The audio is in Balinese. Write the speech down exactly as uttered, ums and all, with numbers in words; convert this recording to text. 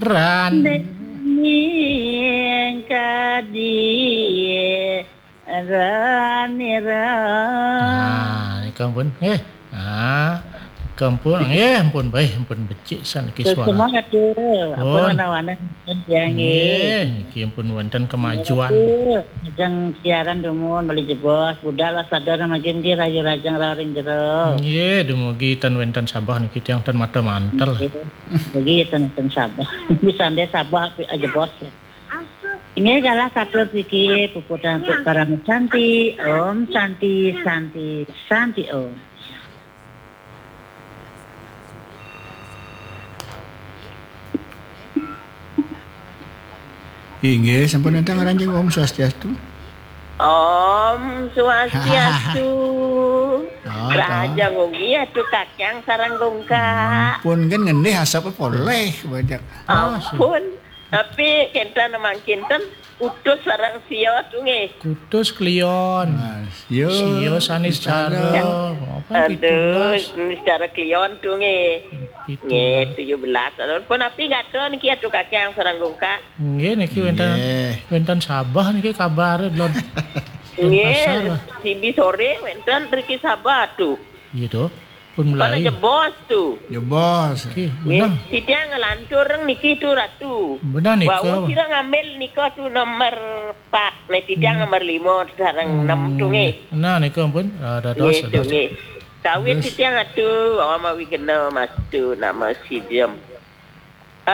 Ran. Ning kadi rani ran. Nah, nika ampun. Eh. Ah, nika ampun. Eh, ampun bae, ampun becik san niki suara. Semua tu. Apa Pun. Wana-wana dia nggih. Nggih, niki ampun wonten kemajuan. Aduh, ajeng siaran dumun beli jebos, budal waspada mangkin nggih rayu rajeng raring jero. Nggih, dumugi ten wenten sabah niki tiang ten mata mantel. Nggih. Bagi ten ten sabah. Bisa nde sabah api aja bos. Ini adalah satu siki puputan untuk para santi. Om santi santi santi om. Inggih, sampun enten ngaranjing Om Swastiastu. Om Swastiastu. Oh, Raja Ngogi atu kakang sarang gongka. Pun kan ngendih asap poleh banyak. Ampun. Tapi kenten mangkinten utus sarang sio tu nggih. Kutus Kliwon. Nah, sio. Sio sanis cara. Apa Aduh, pitulas? Sanis cara Kliwon tu nggih. Pitulas. Nggih, tujuh belas. Ampun api gatra niki atu kakang sarang gongka. Nggih niki wenten Nggih. Wenten sabah niki kabar lon. Nggih, Denpasar. Sibi sore wenten riki sabah tu. Gitu. Pun mulai. Jebos tu. Jebos. Nggih, Nggih, benar. Titiang ngelantur niki tu ratu. Benar nika. Wau sira ngambil nika tu nomor empat. Nek titiang nomor lima sareng enam tu nggih. Nah nika ampun. Ah, dados, Nggih, tu dados. Nggih. Kawit Terus? Titiang atu awam awi kena mastu nama sijem.